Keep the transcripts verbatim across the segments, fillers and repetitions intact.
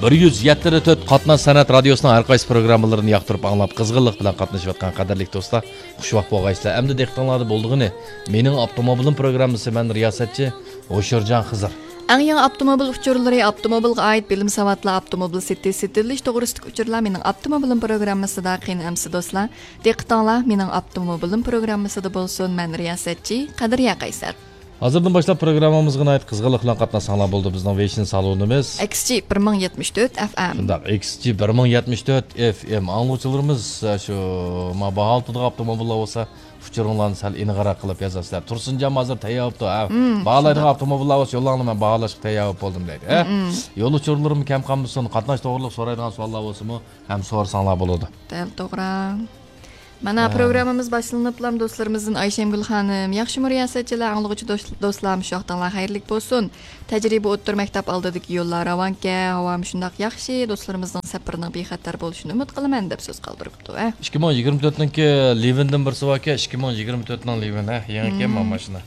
بىر يۈز يەتتە تۆت قاتناش سەنئەت رادىيوسىنىڭ ھەر قايسى پروگراممىلىرىنى ياقتۇرۇپ ئاڭلاپ، قىزغىنلىق بىلەن قاتنىشىۋاتقان قەدىرلىك دوستلار، خۇشۋاق بولغايسىلەر. ئەمدى دىققىتىڭلاردا بولىدىغىنى مېنىڭ ئاپتوموبىلىم پروگراممىسى، مەن رىياسەتچى ھوشۇرجان خىزىر. ئەڭ يېڭى ئاپتوموبىل ئۇچۇرلىرى، ئاپتوموبىلغا ئائىت بىلىم ساۋاتلار، ئاپتوموبىل سېتىش، سېتىلىش توغرىسىدىكى ئۇچۇرلار مېنىڭ ئاپتوموبىلىم پروگراممىسىدا. قېنى ئەمىسە دوستلار، دىققىتىڭلار مېنىڭ ئاپتوموبىلىم پروگراممىسىدا بولسۇن. مەن رىياسەتچى قەدرىيە قەيسەر. ھازىردىن باشلاپ پروگراممىمىزغا ناھايىتى قىزغىنلىق بىلەن قاتناشساڭلار بولدى. بىزنىڭ ۋېيشىن سالونىمىز. ئەكسىچى بىر مىڭ يەتمىش تۆت ئەف ئەم. شۇنداق، ئېكسجى بىر مىڭ يەتمىش تۆت ئەف ئەم. ئاڭلىغۇچىلىرىمىز، ئە، شۇ، ما، باھا ئالتىدىغان ئاپتوموبىللار بولسا، ئۇچۇرۇڭلارنى سەل ئېنىقراق قىلىپ يازارسىلەر. تۇرسۇنجان ھازىر تەييار بوپتۇ، ھە. مم، باھالايدىغان شۇنداق. ئاپتوموبىللار بولسا، يوللاڭلار، مەن باھالاشقا تەييار بولۇپ بولدۇم دەيدۇ، ھە. مم. يول ئۇچۇرلىرىمۇ كەم قالمىسۇن، قاتناش توغرىلىق سورايدىغان سوئاللار بولسىمۇ، ھەم سورىساڭلار بولىدۇ. دەل توغرا. مانا، ھە. پروگراممىمىز باشلىنىپلا دوستلىرىمىزدىن ئايشەمگۈل خانىم، ياخشىمۇ رىياسەتچىلەر، ئاڭلىغۇچى دوست-، دوستلار، مۇشۇ ۋاقتىڭلار خەيرلىك بولسۇن. تەجرىبە ئوتتۇرا مەكتەپ ئالدىدىكى يوللار راۋانكەن، ھاۋامۇ شۇنداق ياخشى، دوستلىرىمىزنىڭ سەپىرىنىڭ بىخەتەر بولۇشىنى ئۈمىد قىلىمەن، دەپ سۆز قالدۇرۇپتۇ، ھە. ئىككى مىڭ يىگىرمە تۆتنىڭكى لىۋىندىن بىرسى باركەن، ئىككى مىڭ يىگىرمە تۆتنىڭ لىۋىن، ھە، يېڭىكەن مم. ماشىنا.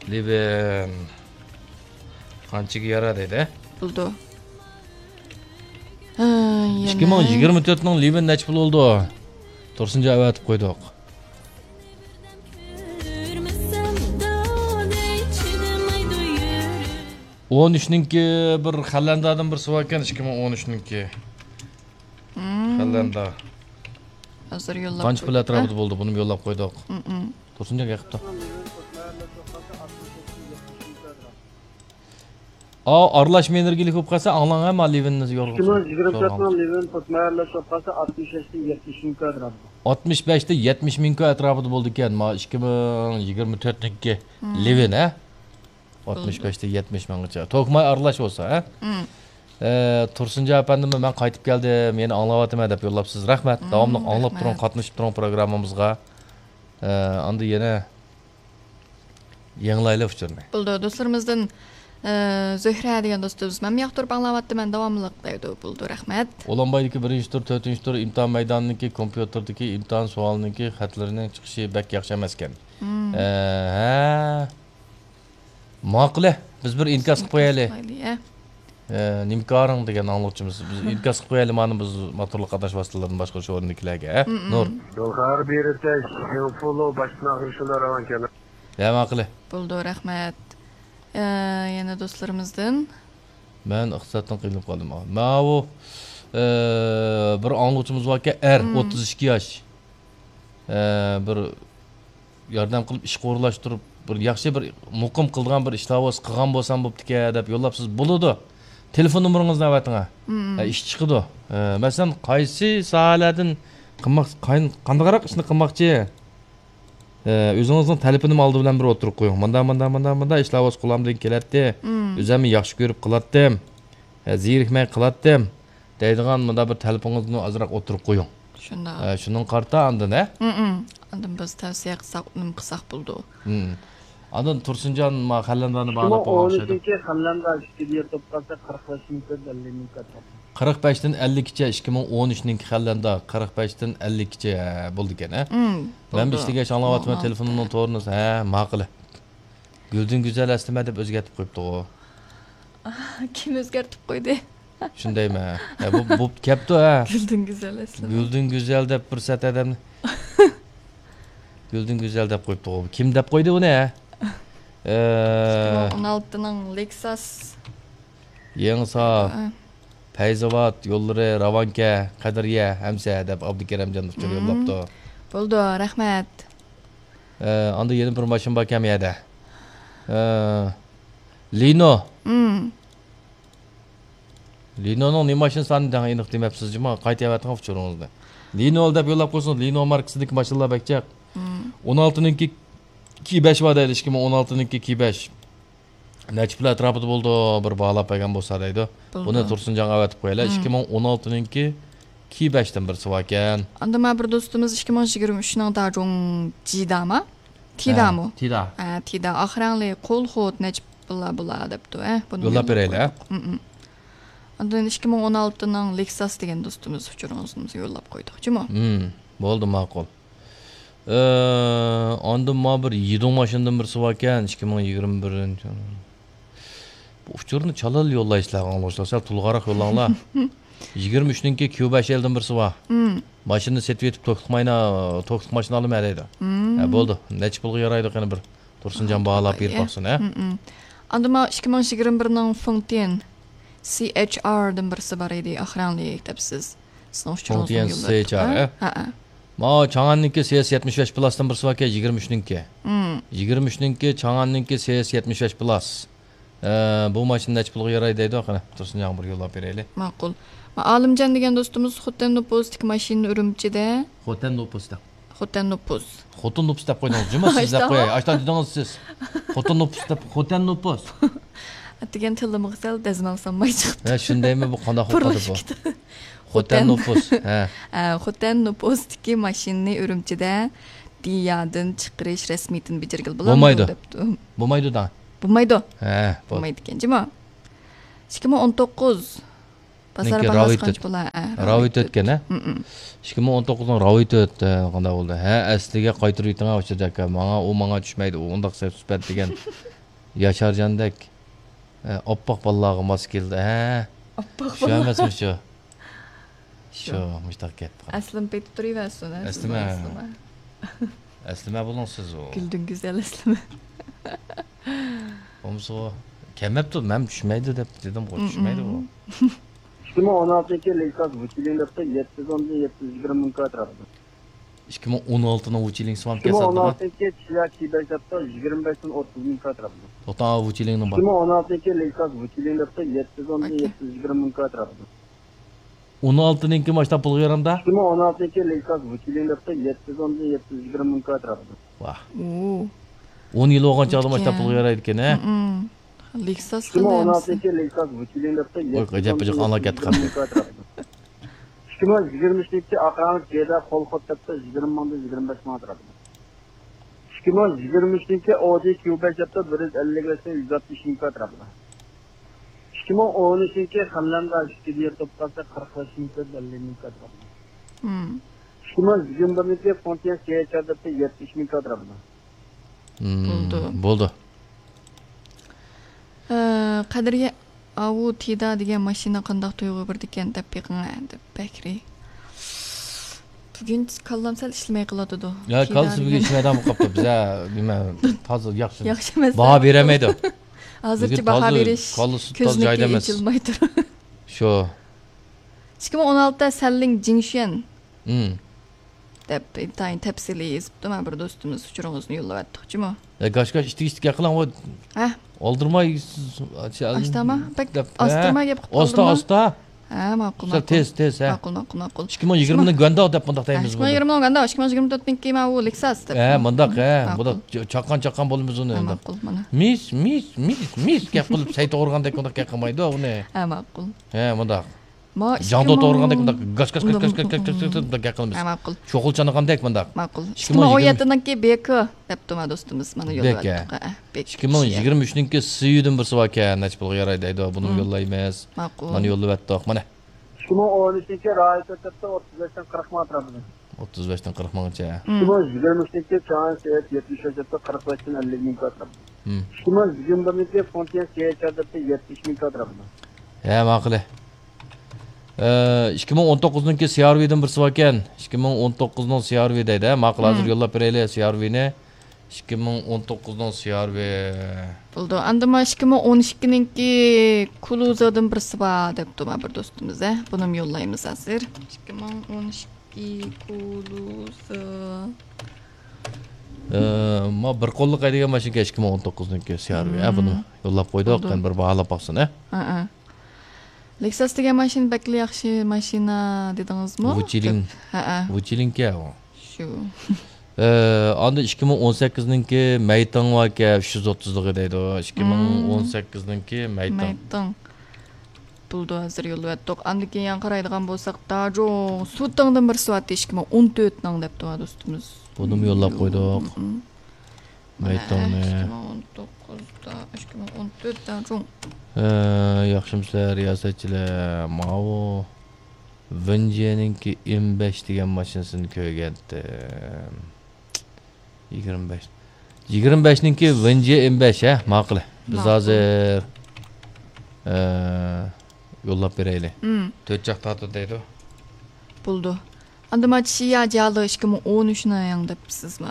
لىۋىن. قانچىگە يارار دەيدۇ، ھە؟ بولىدۇ. ھە، يەنە. ئىككى مىڭ يىگىرمە تۆتنىڭ لىۋىن نەچچە پۇل بولدى؟ تۇرسۇنجان ئەۋەتىپ قويدۇق. ئون ئۈچنىڭكى بىر خەلەندادىن بىرسى باركەن، ئىككى مىڭ ئون ئۈچنىڭكى. مم. خەلەندا. ھازىر يوللاپ قويدۇق. قانچە پۇل ئەتراپىدا بولدى؟ بۇنىمۇ يوللاپ قويدۇق. مم، مم. تۇرسۇنجان ئەكەپتۇ. ئا، ئارىلاش مېنېرگىيىلىك بولۇپ قالسا، ئاڭلاڭ، ھە، ما لىۋىننى يورغا ئىككى مىڭ يىگىرمە تۆتنىڭ لىۋىن توت مەھەللە شوققاسى ئاتمىش بەشتىن يەتمىش مىڭ كۋادرات. ئاتمىش بەشتىن يەتمىش مىڭ كۋادرات ئەتراپىدا بولىدىكەن، ما ئىككى مىڭ يىگىرمە تۆتنىڭكى مم. لىۋىن، ھە؟ بولدى. ئاتمىش بەشتىن يەتمىش مىڭغىچە. توكماي ئارىلاش بولسا، ھە؟ مم. ئە، تۇرسۇنجان ئەپەندىمۇ مەن قايتىپ كەلدىم، يەنە ئاڭلاۋاتىمەن دەپ يوللاپسىز. رەھمەت. مم، داۋاملىق ئاڭلاپ رەھمەت. تۇرۇڭ، قاتنىشىپ تۇرۇڭ پروگراممىمىزغا. ئە، ئاندىن يەنە يېڭىلايلى ئۇچۇرنى. بولىدۇ، دوستلىرىمىزدىن، ئە، زۆھرە دېگەن دوستىمىز، مەنمۇ ياقتۇرۇپ ئاڭلاۋاتىمەن، داۋاملىق دەيدۇ. بولىدۇ، رەھمەت. ئۇلانبايدىكى بىرىنچى تۇر، تۆتىنچى تۇر، ئىمتىھان مەيدانىدىكى كومپيۇتېردىكى ئىمتىھان سوئالىنىڭكى خەتلىرىنىڭ چىقىشى بەك ياخشى ئەمەسكەن. مم. ئە، ھە. ماقۇلە، بىز بىر ئىنكاس قىلىپ قويايلى. قىلىپ قويايلى، ئە. ئە، نېمە كارىڭ دېگەن ئاڭلىغۇچىمىز. بىز ئىنكاس قىلىپ قويايلى، مانا بىز موتورلۇق قاتناش ۋاسىتىلىرىنى باشقۇرۇش ئورنىدىكىلەرگە، ئە؟ مم، مم. نۇر. يول خەۋەر بېرىتىش، يېڭى پولو، باشتىن ئاخىرى شۇنداق راۋانكەن. ھە، ماقۇلە. بولىدۇ، رەھمەت. ئە، يەنە دوستلىرىمىزدىن. مەن ئىقتىسادتىن قىينىلىپ قالدىم. ماۋۇ، ئە، بىر ئاڭلىغۇچىمىز باركەن، ئەر، مم. ئوتتۇز ئىككى ياش. ئە، بىر ياردەم قىلىپ، ئىشقا ئورۇنلاشتۇرۇپ، بىر ياخشى، بىر مۇقىم قىلىدىغان بىر ئىشلار بولسا، قىلغان بولسام بوپتىكەن دەپ يوللاپسىز. بولىدۇ. تېلېفون نومۇرىڭىزنى ئەۋەتىڭە. مم. ئە، ئىش چىقىدۇ. ئە، مەسىلەن، قايسى ساھەلەردىن قىلماق، قاي-، قانداقراق ئىشنى قىلماقچى؟ ئە، ئۆزىڭىزنىڭ تەلىپىنىمۇ ئالدى بىلەن بىر ئوتتۇرىغا قويۇڭ. مۇنداق، مۇنداق، مۇنداق، مۇنداق ئىشلار بولسا قولۇمدىن كېلەتتى. مم. ئۆزۈممۇ ياخشى كۆرۈپ قىلاتتىم. ئە، زېرىكمەي قىلاتتىم. دەيدىغان مۇنداق بىر تەلىپىڭىزنى ئازراق ئوتتۇرىغا قويۇڭ. شۇنداق. ئە، شۇنىڭغا قارىتا ئاندىن، ھە؟ مم، مم. ئاندىن بىز تەۋسىيە قىلساق، نېمە قىلساق بولىدۇ. مم. ئاندىن تۇرسۇنجان ما خەللەندانى باھالاپ ئىككى مىڭ ئون ئۈچىنچى خەللەندا ئىككى دىيا توپ قالسا، قىرىق بەش مىڭ كۆپ، ئەللىك مىڭ كۆپ. قىرىق بەشتىن ئەللىككىچە، ئىككى مىڭ ئون ئۈچنىڭكى خەللەندان قىرىق بەشتىن ئەللىككىچە، ھە، بولىدىكەن، ھە؟ مم، مەن بولىدۇ. ئىشلىگەچ ئاڭلاۋاتىمەن، ماڭا تېلېفونۇمنىڭ تورىنى، ھە، ماقۇل. گۈلدىن گۈزەل ئەسلىمە دەپ ئۆزگەرتىپ قويۇپتىغۇ. كىم ئۆزگەرتىپ قويدى؟ شۇندايمۇ؟ ھە، بۇ، بۇ كەپتۇ، ھە. گۈلدىن گۈزەل ئەسلىمە. گۈلدىن گۈزەل دەپ پۇرسەت ئادەمنى. گۈلدىن گۈزەل دەپ قويۇپتىغۇ. كىم دەپ قويدى بۇنى، ھە؟ ئىككى مىڭ ئون ئالتىنىڭ لېكساس. يېڭىساپ، ھە. پەيزاۋات يوللىرى، راۋانكە، قەدرىيە، ھەمسە دەپ ئابدۇكېرەمجان ئۇچۇر يوللاپتۇ. بولىدۇ، رەھمەت. ئە، ئاندا يەنە بىر ماشىنا باركەن بۇ يەردە. ئە، لىنو. مم. لىنونىڭ نېمە ماشىنىسى ئاندىن ئېنىق دېمەپسىز جۇما، قايتا ئەۋەتىڭ ئۇچۇرىڭىزنى. لىنو دەپ يوللاپ قويسىڭىز، لىنو ماركىسىدىكى ماشىنىلار بەك جىق. مم. ئون ئالتىنىڭكى كى بەش بار دەيدۇ، ئىككى مىڭ ئون ئالتىنىڭكى كى بەش. نەچچە پۇل ئەتراپىدا بولىدۇ، بىر باھالاپ بەرگەن بولسا دەيدۇ. بولىدۇ. بۇنى تۇرسۇنجانغا ئەۋەتىپ قويىلى. مم. ئىككى مىڭ ئون ئالتىنىڭكى كى بەشتىن بىرسى باركەن. ئاندىن مانا بىر دوستىمىز ئىككى مىڭ يىگىرمە ئۈچنىڭ داجۇڭ جىدامۇ؟ تىدامۇ؟ ھە، تىدا. ھە، تىدا. ئاق رەڭلىك، قول خۇد نەچچە پۇللار بۇلار دەپتۇ. ھە، بۇنى يوللاپ بېرەيلى، ھە؟ مم، مم. ئاندىن ئىككى مىڭ ئون ئالتىنىڭ لېكساس دېگەن دوستىمىز ئۇچۇرىڭىزنى يوللاپ قويدۇق جۇمۇ. مم، بولدى، ماقۇل. ئە، ئاندىن ما بىر يىدۇڭ ماشىنىدىن بىرسى باركەن، ئىككى مىڭ يىگىرمە بىرىنچى. بۇ ئۇچۇرنى چالىلا يوللايسىلەر، ئاڭلىغۇچىلار. سەل تولغاقراق يوللاڭلار. يىگىرمە ئۈچنىڭكى كيۇ بەش ئېلدىم بىرسى بار. ماشىنىنى سېتىۋېتىپ، توكلۇق ماينا، توكلۇق ماشىنا ئالىمەن دەيدۇ. ھە، بولدى. نەچچە پۇلغا يارايدۇ، قېنى بىر تۇرسۇنجان باھالاپ بېرىپ باقسۇن، ھە؟ ئاندىن مانا ئىككى مىڭ يىگىرمە بىرنىڭ فېڭتىيەن سى ئېچ ئار دىن بىرسى بار ئىدى، ئاخ رەڭلىك دەپسىز. سىزنىڭ ئۇچۇرىڭىزنى فېڭتىيەن يوللاپ سى ئېچ ئار، ھە؟ ھە، ھە. ماۋۇ چاڭئەننىڭكى سى ئېس يەتمىش بەش پلاسدىن بىرسى باركەن، يىگىرمە ئۈچنىڭكى. يىگىرمە ئۈچنىڭكى چاڭئەننىڭكى سى ئېس يەتمىش بەش پلاس. ئە، بۇ ماشىنا نەچچە پۇلغا يارايدۇ دەيدۇ، قېنى، تۇرسۇنجانغا بىر يوللاپ بېرەيلى. ماقۇل. ئالىمجان دېگەن دوستىمىز خوتەن نوپۇستىكى ماشىنىنى ئۈرۈمچىدە. خوتەن نوپۇس دەپ. خوتەن نوپۇس. خوتۇن نوپۇس دەپ قويدىڭىز جۇمۇ، سىز دەپ قوياي. ئاشتا دېدىڭىز سىز. خوتۇن نوپۇس دەپ، خوتەن نوپۇس. ئەتىگەن تىلىمغا سەل دەزمال سالماي چىقىپتۇ. ھە، شۇندايمۇ بۇ، قانداق خوتەن نوپۇس؟ خوتەن نوپۇس. ھە. ھە، خوتەن نوپۇستىكى ماشىنىنى ئۈرۈمچىدە دىيادىن چىقىرىش رەسمىيىتىنى بېجىرگىلى بولامدۇ دەپتۇ. بولمايدۇ. بولمايدۇ. ھە، بول. بولمايدىكەن جۇمۇ. ئىككى مىڭ ئون توققۇز. بازار باھاسى قانچە بولا؟ ھە، راۋىتۆت ئىكەن، ھە؟ ئىككى مىڭ ئون توققۇزنىڭ راۋىتۆت، ھە، قانداق بولدى؟ ھە، ئەسلىگە قايتۇرۇۋېتىڭ، ھە، ئۇچۇر ئاكا. ماڭا، ئۇ ماڭا چۈشمەيدۇ، ئۇ ئۇنداق سەت سۈپەت دېگەن ياشارجاندەك، ھە، ئاپئاق بالىلارغا ماس كېلىدۇ، ھە؟ ئاپئاق شۇ بالىلار. ئەمەسمۇ شۇ؟ شۇ. شۇ، مۇشتاق گەپ. ئەسلىمە پېتى تۇرۇۋەرسۇن، ھە، ئەسلىمە. ئەسلىمە. ئەسلىمە بولۇڭ سىز ئۇ. گۈلدۈن گۈزەل ئەسلىمە. بولمىسا ئۇ كەلمەپتۇ، مەن چۈشمەيدۇ دەپ دېدىمغۇ، چۈشمەيدۇ ئۇ. ئىككى مىڭ ئون ئالتىنچى لېكساس ۋۇچىلىڭ دەپتۇ، يەتتە يۈز ئون، يەتتە يۈز يىگىرمە مىڭ كۋادرات. ئىككى مىڭ ئون ئالتىنىڭ ۋۇچىلىڭ سوام ئىككى مىڭ ئون ئالتىنچى كىيا كىي بەش دەپتۇ، يىگىرمە بەشتىن ئوتتۇز مىڭ كۋادرات. توختاڭ، ۋۇچىلىڭنىڭ بار. ئىككى مىڭ ئون ئالتىنچى لېكساس ۋۇچىلىڭ دەپتۇ، يەتتە يۈز ئون، يەتتە يۈز يىگىرمە مىڭ كۋادرات. ئون ئالتىنىڭكى ماشتا پۇلغا يارامدا؟ ئىككى مىڭ ئون ئالتىنچى لېكساس ۋۇچىلىڭ دەپتۇ، يەتتە يۈز ئون، يەتتە يۈز يىگىرمە مىڭ كۋادرات. ۋاھ. ئۇ. ئون يىل بولغان چاغدا ماشتا پۇلغا يارايدىكەن، ھە؟ لېكساس ئىككى مىڭ ئون ئالتىنچى لېكساس ۋۇچىلىڭ دەپتۇ، يەتتە يۈز ئون، يەتتە يۈز يىگىرمە مىڭ كۋادرات. ئىككى مىڭ يىگىرمە ئۈچىنچى ئاق رەڭلىك جېدا قول خوت دەپتۇ، يىگىرمە مىڭدىن يىگىرمە بەش مىڭ ئەتراپىدا. ئىككى مىڭ يىگىرمە ئۈچىنچى ئودى كيۇ بەش دەپتۇ، بىر يۈز ئەللىك بەشتىن يۈز ئاتمىش مىڭ ئەتراپىدا. ئىككى مىڭ ئون ئۈچىنچى خەنلەندە ئىككى دىيا توپلاسا قىرىق بەش مىڭ تۆت يۈز ئەللىك مىڭ ئەتراپىدا. ئىككى مىڭ يىگىرمە بىرىنچى فونتيە سىيەچەر دەپتۇ، يەتمىش مىڭ ئەتراپىدا. بولدى. بولدى. ئە، قەدرىيە، ئاۋۇ تىدا دېگەن ماشىنا قانداق تۇيغۇ بېرىدىكەن دەپ بېقىڭە، دەپ بەكرى. بۈگۈن كاللام سەل ئىشلىمەي قالاتىدۇ. يا، تىدا كاللىسى بۈگۈن دېگەن. ئىشلىمەيدىغان بولۇپ قاپتۇ. بىزە نېمە، تازا ياخشى. ياخشى ئەمەس. باھا بېرەلمەيدۇ. ھازىرچە بۈگۈن باھا تازا بېرىش كاللىسى تازا كۆزنىكى جايىدا ئەمەس. ئېچىلماي تۇر. شۇ. ئىككى مىڭ ئون ئالتە سەنلىڭ جىڭشۈەن. دەپ ئىنتايىن تەپسىلىي يېزىپتۇ. مانا بىر دوستىمىز ئۇچۇرىڭىزنى يوللاۋەتتۇق جۇمۇ. ئە، گاش گاش ئىتتىك ئىتتىك گەپ قىلىڭ، ھە. ئالدىرىماي، ئاشتاما بەك ئاستىرىماي گەپ قىلىپ ئاستا قالدىمما؟ ئاستا. ھە، ماقۇل، ماقۇل. تېز تېز، ھە. ماقۇل، ماقۇل، ماقۇل. ئىككى مىڭ يىگىرمىنىڭ گۇەنداۋ دەپ مۇنداق دەيمىز. ئىككى مىڭ يىگىرمىنىڭ گۇەنداۋ، ئىككى مىڭ يىگىرمە تۆتنىڭكى ماۋۇ لېكساس دەپ. ھە، مۇنداق، ھە. ماقۇل. مۇنداق چاققان چاققان بولىمىز ئۇنى. ھە، ماقۇل، مانا. مىس مىس مىس مىس گەپ قىلىپ سەي توغرىغاندەك مۇنداق گەپ قىلمايدۇ ئۇنى. ھە، ماقۇل. ھە، مۇنداق. ما جاڭدۇ توغرىغاندەك مۇنداق گاش گاش گاش گاش گاش گاش گاش گاش مۇنداق گەپ قىلىمىز. ھە، ماقۇل. چوقۇل چانىغاندەك مۇنداق. ماقۇل. ئىككى مىڭ ئون يەتتىنىڭكى بېكى دەپتۇ ما دوستىمىز. مانا يوللاۋەتتۇق. ھە، بېكى. ئىككى مىڭ يىگىرمە ئۈچنىڭكى سىيۇدىن بىرسى باركەن، نەچچە پۇلغا ياراي دەيدۇ، بۇنىمۇ يوللايمىز. ماقۇل. مانا يوللاۋەتتۇق، مانا. ئىككى مىڭ ئون ئۈچىنچى رايىت ئۆتەپتۇ، ئوتتۇز بەشتىن قىرىق مىڭ ئەتراپىدا. ئوتتۇز بەشتىن قىرىق مىڭغىچە. ئىككى مىڭ يىگىرمە ئۈچىنچى چاڭ سېيىت يەتمىش بەش ئەتراپىدا، قىرىق بەشتىن ئەللىك مىڭ ئەتراپىدا. ئىككى مىڭ يىگىرمە بىرىنچى فونتيە سىيەچەر دەپتۇ، يەتمىش مىڭ ئەتراپىدا. ھە، ماقۇلى. ئىككى مىڭ ئون توققۇزنىڭكى سىيارۋىدىن بىرسى باركەن. ئىككى مىڭ ئون توققۇزنىڭ سىيارۋى دەيدۇ، ھە؟ ماقۇل، ھازىر يوللاپ بېرەيلى سىيارۋىنى. ئىككى مىڭ ئون توققۇزنىڭ سىيارۋى. بولىدۇ. ئاندىن مانا ئىككى مىڭ ئون ئىككىنىڭكى كۇلۇزادىن بىرسى بار دەپتۇ ما بىر دوستىمىز، ھە؟ بۇنىمۇ يوللايمىز ھازىر. ئىككى مىڭ ئون ئىككى كۇلۇزا. ئە، ما بىر قوللۇق ھەيدىگەن ماشىنىكەن ئىككى مىڭ ئون توققۇزنىڭكى سىيارۋى، ھە؟ بۇنى يوللاپ قويدۇق. بولىدۇ. قېنى بىر باھالاپ باقسۇن، ھە؟ ھە، ھە. لېكساس دېگەن ماشىنا بەكلا ياخشى ماشىنا دېدىڭىزمۇ؟ ۋۇچىلىڭ. ھەئە. ۋۇچىلىڭكى ئۇ. شۇ. ئە، ئاندىن ئىككى مىڭ ئون سەككىزنىڭكى مەيتىڭ باركەن، ئۈچ يۈز ئوتتۇزلۇقى دەيدۇ. ئىككى مىڭ ئون سەككىزنىڭ مەيتىڭ. مەيتىڭ. بولىدۇ، ھازىر يوللىۋەتتۇق. ئاندىن كېيىن يەنە قارايدىغان بولساق، داجۇڭ سۇتاڭدىن بىرسى بارتى، ئىككى مىڭ ئون تۆتنىڭ دەپتۇ دوستىمىز. بۇنىمۇ يوللاپ قويدۇق. مەيتىڭنى. ئىككى مىڭ ئون توققۇزدا، ئىككى مىڭ ئون تۆتتە جۇڭ. ھە، ياخشىمۇسىلەر رىياسەتچىلەر؟ ماۋۇ ۋېنجيەنىڭكى ئېم بەش دېگەن ماشىنىسىنى كۆرگەنتىم. يىگىرمە بەش. يىگىرمە بەشنىڭكى ۋېنجيە ئېم بەش، ھە؟ ماقۇل. بىز ھازىر ئە، يوللاپ بېرەيلى. مم. تۆت چاق تارتىدۇ دەيدۇ. بولدى. ئاندىن ما چىيا جالى ئىككى مىڭ ئون ئۈچنىڭ دەپسىز ما،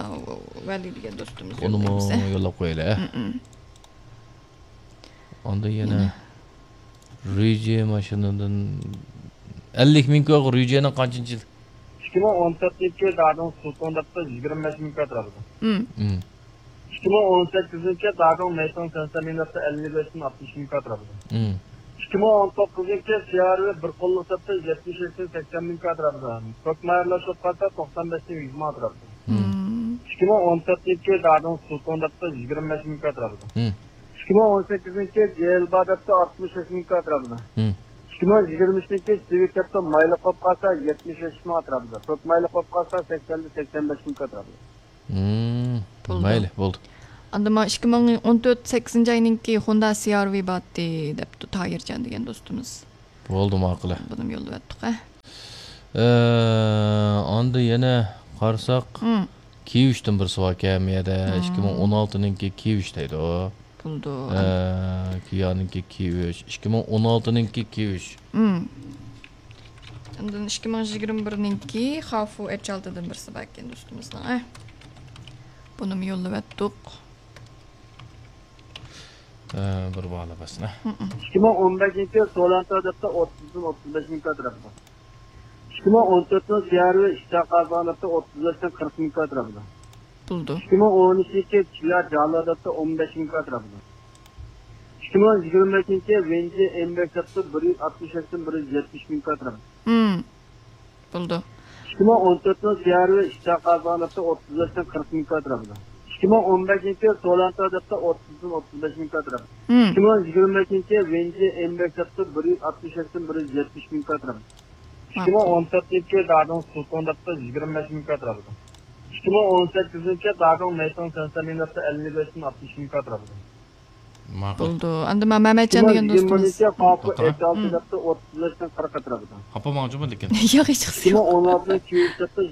ۋەلى دېگەن دوستىمىز ئۇنىمۇ يوللايمىز، ھە؟ يوللاپ قويايلى، ھە؟ مم. ئاندىن يەنە يەنە. رۈيجې ماشىنىدىن ئەللىك مىڭ كوي، رۈيجېنىڭ قانچىنچى يىل؟ ئىككى مىڭ ئون تۆتىنچى دادىڭ سۇتۇڭ دەپتۇ، يىگىرمە بەش مىڭ كوي تۇرىدۇ. مم. مم. ئىككى مىڭ ئون سەككىزىنچى دادىڭ مەيتىڭ سەنسەنلىڭ دەپتۇ، ئەللىك بەشتىن ئاتمىش مىڭ كوي تۇرىدۇ. مم. ئىككى مىڭ ئون توققۇزىنچى سىيارى بىر قوللۇق دەپتۇ، يەتمىش ئۈچتىن سەكسەن مىڭ كوي تۇرىدۇ. توك مايىرلاشلىق قالسا توقسان بەشتىن يۈز مىڭ تۇرىدۇ. مم. ئىككى مىڭ ئون تۆتىنچى دادىڭ سۇتۇڭ دەپتۇ، يىگىرمە بەش مىڭ كوي تۇرىدۇ. مم. ئىككى مىڭ ئون سەككىزىنچى جېيىل بار دەپتۇ، ئاتمىش ئۈچ مىڭ كوي تۇرىدۇ. مم. ئىككى مىڭ يىگىرمە ئۈچىنچى سىۋىك دەپتۇ، مايلىق بولۇپ قالسا يەتمىش ئۈچ مىڭ تۇرىدۇ. توك مايلىق بولۇپ قالسا سەكسەندىن سەكسەن بەش مىڭ كوي تۇرىدۇ. مم. بولدى. مەيلى، بولدى. ئاندىن مانا ئىككى مىڭ ئون تۆت سەككىزىنچى ئاينىڭكى خوندا سىيارۋى باتتى دەپتۇ تاھىرجان دېگەن دوستىمىز. بولدى، ماقۇل. بۇنىمۇ يوللىۋەتتۇق، ھە. ئە، ئاندىن يەنە قارىساق، مم. كىيىۋىشتىن بىرسى باركەن، مۇيەردە. مم. ئىككى مىڭ ئون ئالتىنىڭكى كىيىۋىش دەيدۇ. بولدى. ئە، كىيانىڭكى كىيىۋىش. ئىككى مىڭ ئون ئالتىنىڭكى كىيىۋىش. مم. ئاندىن ئىككى مىڭ يىگىرمە بىرنىڭكى خافۇ ئەچ ئالتىدىن بىرسى باركەن دوستىمىزنىڭ، ئە. بۇنىمۇ يوللىۋەتتۇق. ئە، بىر بالا بەرسىنە. مم. ئىككى مىڭ ئون بەشىنچى سولانتا دەپتۇ، ئوتتۇزدىن ئوتتۇز بەش مىڭ كوي تۇرىدۇ. ئىككى مىڭ ئون تۆتىنچى سىيارى ئىشتا قازان دەپتۇ، ئوتتۇز بەشتىن قىرىق مىڭ كوي تۇرىدۇ. بولدى. ئىككى مىڭ ئون ئۈچىنچى چىيا جالا دەپتۇ، ئون بەش مىڭ كوي تۇرىدۇ. ئىككى مىڭ يىگىرمە بەشىنچى ۋېنجى ئېم بەش دەپتۇ، بىر يۈز ئاتمىش بەشتىن بىر يۈز يەتمىش مىڭ كوي تۇرىدۇ. مم. بولدى. ئىككى مىڭ ئون تۆتىنچى سىيارى ئىشتا قازان دەپتۇ، ئوتتۇز بەشتىن قىرىق مىڭ كوي تۇرىدۇ. ئىككى مىڭ ئون بەشىنچى سولانتا دەپتۇ، ئوتتۇزدىن ئوتتۇز بەش مىڭ كوي تۇرىدۇ. مم. ئىككى مىڭ يىگىرمە بەشىنچى ۋېنجى ئېم بەش دەپتۇ، بىر يۈز ئاتمىش بەشتىن بىر يۈز يەتمىش مىڭ كوي تۇرىدۇ. ئىككى مىڭ ئون تۆتىنچى دادىڭ سۇتۇڭ دەپتۇ، يىگىرمە بەش مىڭ كوي تۇرىدۇ. ئىككى مىڭ ئون سەككىزىنچى دادىڭ مەيتىڭ سەنسەنلىڭ دەپتۇ، ئەللىك بەشتىن ئاتمىش مىڭ كوي تۇرىدۇ. ماقۇل. بولدى. ئەمدى ما مەمەتجان دېگەن دوستىمىز. توختاڭ. ئوتتۇز بەشتىن قىرىققا تۇرىدۇ. خاپا ماڭجۇما لېكىن. ياق، ھېچ قىسى يوق. ئىككى مىڭ ئون ئالتىنچى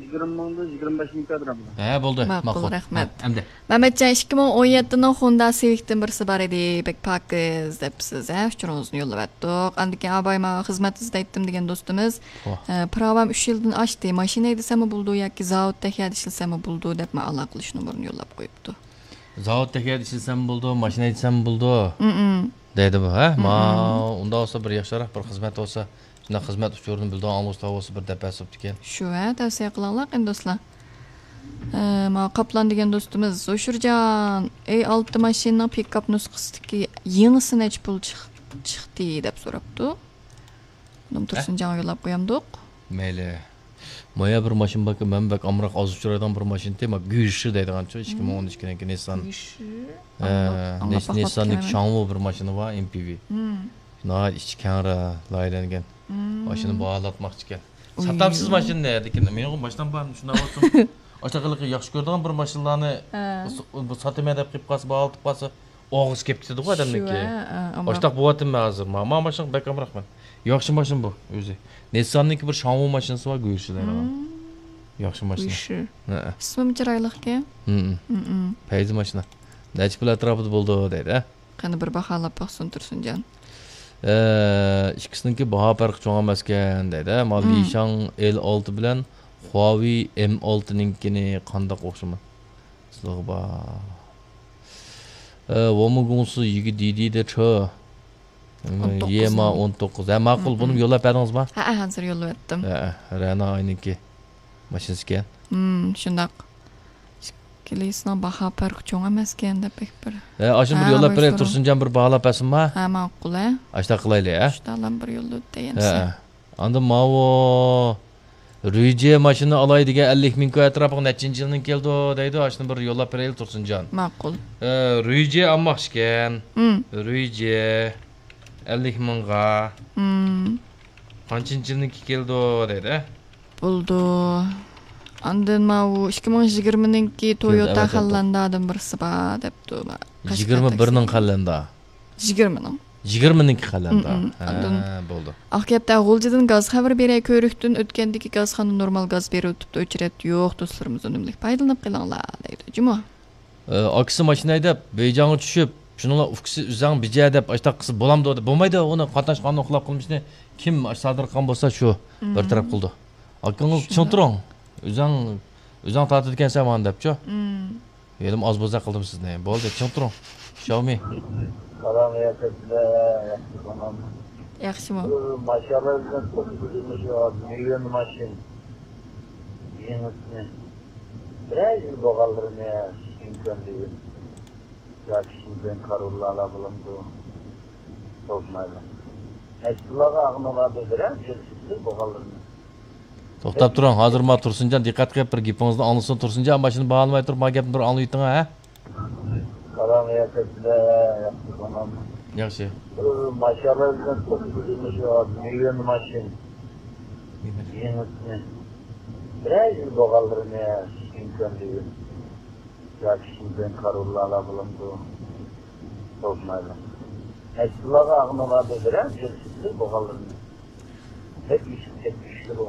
يىگىرمە مىڭدىن يىگىرمە بەش مىڭ كوي تۇرىدۇ. ھە، بولدى. ماقۇل، ماقۇل. رەھمەت. ھە، ئەمدى. مەمەتجان، ئىككى مىڭ ئون يەتتىنىڭ خوندا سىۋىكتىن بىرسى بار ئىدى، بەك پاكىز دەپسىز، ھە، ئۇچۇرىڭىزنى يوللىۋەتتۇق. ئاندىن كېيىن ئاباي ماڭا خىزمەت ئىزدەيتتىم دېگەن دوستىمىز، ۋاھ. ئە، پىراۋام ئۈچ يىلدىن ئاشتى، ماشىنا ھەيدىسەممۇ بولىدۇ ياكى زاۋۇتتا ھەيدە ئىشلىسەممۇ بولىدۇ دەپ ماڭا ئالاقىلىشىش نومۇرىنى يوللاپ قويۇپتۇ. زاۋۇتتا ھەيدە ئىشلىسەم بولىدۇ، ماشىنا ھەيدىسەم بولىدۇ، مم. دەيدۇ بۇ، ھە؟ مم. ما، ئۇنداق بولسا بىر ياخشىراق بىر خىزمەت بولسا، شۇنداق خىزمەت ئۇچۇرىنى بىلىدىغان ئاڭلىغۇچىلار بولسا بىر دەپ بەرسە بوپتىكەن. شۇ، ھە، تەۋسىيە قىلىڭلار قېنى دوستلار. ئە، ما قاپلان دېگەن دوستىمىز، زوشۇرجان، ئەي ئالتە ماشىنىنىڭ پىكاپ نۇسخىسىدىكى يېڭىسى نەچچە پۇل چىق-، چىقتى دەپ سوراپتۇ. بۇنىمۇ ھە؟ تۇرسۇنجانغا يوللاپ قويامدۇق. مەيلى. مايا بىر ماشىنا باركەن، مەن بەك ئامراق ئاز ئۇچرايدىغان بىر ماشىنا، ما گۈيشى دەيدىغانچۇ، ئىككى مىڭ ئون ئىككىنىڭكى نىسسان. گۈيشى؟ ھە، ئاڭلاپ، نىس-، ئاڭلاپ باقماپتىكەنمەن. نىسساندىكى شاڭۋۇ بىر ماشىنا بار، ئېم پى ۋى. مم. ناھايىتى ئىچى كەڭرى لايىھەلەنگەن. مم. ماشىنا باھالاتماقچىكەن. ئۇي. ساتامسىز ماشىنىنى، لېكىن مېنىڭغۇ ماشىنام بار، شۇنداق بولسۇن. ئاشۇنداق ياخشى كۆرىدىغان بىر ماشىنىلارنى ھە. س-، بۇ ساتىمەن دەپ قېلىپ قالسا، باھالىتىپ قالسا، ئوغرىسى كېلىپ كېتىدىغۇ ئادەمنىڭكى. شۇ، ھە، ھە، ئاشۇنداق بولۇۋاتىمەن ھازىر. ما، ما ماشىنىغا بەك ئامراقمەن. ياخشى ماشىنا بۇ ئۆزى. نىسساننىڭكى بىر شاڭۋۇ ماشىنىسى بار، گۈيشى دەيدىغان. مم. ياخشى ماشىنا. گۈيشى. ھە. ئىسمىمۇ چىرايلىقكەن. مم. مم. پەيزى ماشىنا. نەچچە پۇل ئەتراپىدا بولىدۇ دەيدۇ، ھە؟ قېنى بىر باھالاپ باقسۇن تۇرسۇنجان. ئە، ئىككىسىنىڭكى باھا پەرقى چوڭ ئەمەسكەن دەيدۇ، ھە؟ ما مم. لىشاڭ ئېل ئالتە بىلەن خۇاۋېي ئېم ئالتىنىڭكىنى قانداق ئوخشىماي؟ سىلىغا بار. ئە، ۋومۇگۇڭسى يىگى دىدى دە چۆ. ئون توققۇز يېما نىڭ. ئون توققۇز. ھە، ماقۇل، مم. بۇنىمۇ يوللاپ بەردىڭىزما؟ ھە، ھە، ھازىر يوللىۋەتتىم. ھە، رەنا ئاينىڭكى ماشىنىسىكەن. مم، شۇنداق. ئىككىلىسىنىڭ باھا پەرقى چوڭ ئەمەسكەن دەپ بەك بىر. ھە، ئاشۇنى بىر ھە، يوللاپ بېرەيلى، تۇرسۇنجان بىر باھالاپ بەرسۇنما؟ ھە، ماقۇل، ھە. ئاشۇنداق قىلايلى، ھە؟ شۇنداقلا بىر يوللىدى دېگەنسە. ھە. ئاندىن ماۋۇ رۈيجې ماشىنا ئالاي دېگەن ئەللىك مىڭ كوي ئەتراپىغا نەچچىنچى يىلنىڭ كېلىدۇ دەيدۇ، ئاشۇنى بىر يوللاپ بېرەيلى تۇرسۇنجان. ماقۇل. ئە، رۈيجې ئالماقچىكەن. مم. رۈيجې ئەللىك مىڭغا. مم. قانچىنچى يىلنىڭكى كېلىدۇ دەيدۇ. بولدى. ئاندىن ماۋۇ ئىككى مىڭ يىگىرمىنىڭكى تويوتا خەللەندا بىرسى بار دەپتۇ. يىگىرمە بىرنىڭ خەللەندا. يىگىرمىنىڭ. يىگىرمىنىڭكى قەلەندە. مم، مم. ھە، ئاندىن بولدى. ئاقكەپتە غۇلجىدىن گاز خەۋىرى بېرەي، كۆۋرۈكتىن ئۆتكەندىكى گازخانا نورمال گاز بېرىۋېتىپتۇ، ئۆچرەت يوق، دوستلىرىمىز ئۈنۈملۈك پايدىلىنىپ قېلىڭلار، دەيدۇ جۇمۇ. ئە، ئاكىسى ماشىنا ھەيدەپ، بېيجاڭغا چۈشۈپ، شۇنىڭلا ئۇكىسى ئۆزەڭ بىجە دەپ ئاشتاق قىلسا بولامدۇ دەپ، بولمايدۇ، ئۇنى قاتناش قانۇن خىلاپ قىلمىشنى كىم ئاشۇ سادىر قىلغان بولسا شۇ بىر تەرەپ قىلىدۇ. ئاكىڭىز چىڭ تۇرۇڭ. ئۆزەڭ، ئۆزەڭ تارتىدىكەنسەن مانا دەپچۇ. ھېلىمۇ ئاز بوزەك قىلدىم سىزنى. بولدى، چىڭ تۇرۇڭ. شاۋمى. سالام، ياخشىسىلەر، ياخشى تامام. ياخشىمۇ؟ بۇ ماشاللا بىلەن توققۇزىنچى ماشىنا، ماشىنا. يېڭىسىنى. بىرەر يىل بولغانلىرىنى ئىمكان دېگىن. ياكى شىنجاڭ كارۋانلارلا بولامدۇ؟ توقمايلا. ئەسلىلارغا ئاغنىلاردا بىرەر يىل بولغانلىرىنى. توختاپ تۇرۇڭ، ھازىر ما تۇرسۇنجان دىققەت قىلىپ بىر گېپىڭىزنى ئاڭلىسۇن. تۇرسۇنجان ماشىنا باھالىماي تۇرۇپ ما گەپنى بىر ئاڭلىۋېتىڭ ھە. سالام، ياخشى. ياخشى. ماشاللا بىلەن توققۇزىنچى ماشىنا. يېڭىسىنى. بىرەر يىل بولغانلىرىنى ئىمكان دېگىن. ياكى شىنجاڭ كارۋانلارلا بولامدۇ؟ توقمايلا. ئەسلىلارغا ئاغنىلاردا بىرەر يىل بولغانلىرىنى. بەك ئېشىپ كەتتى.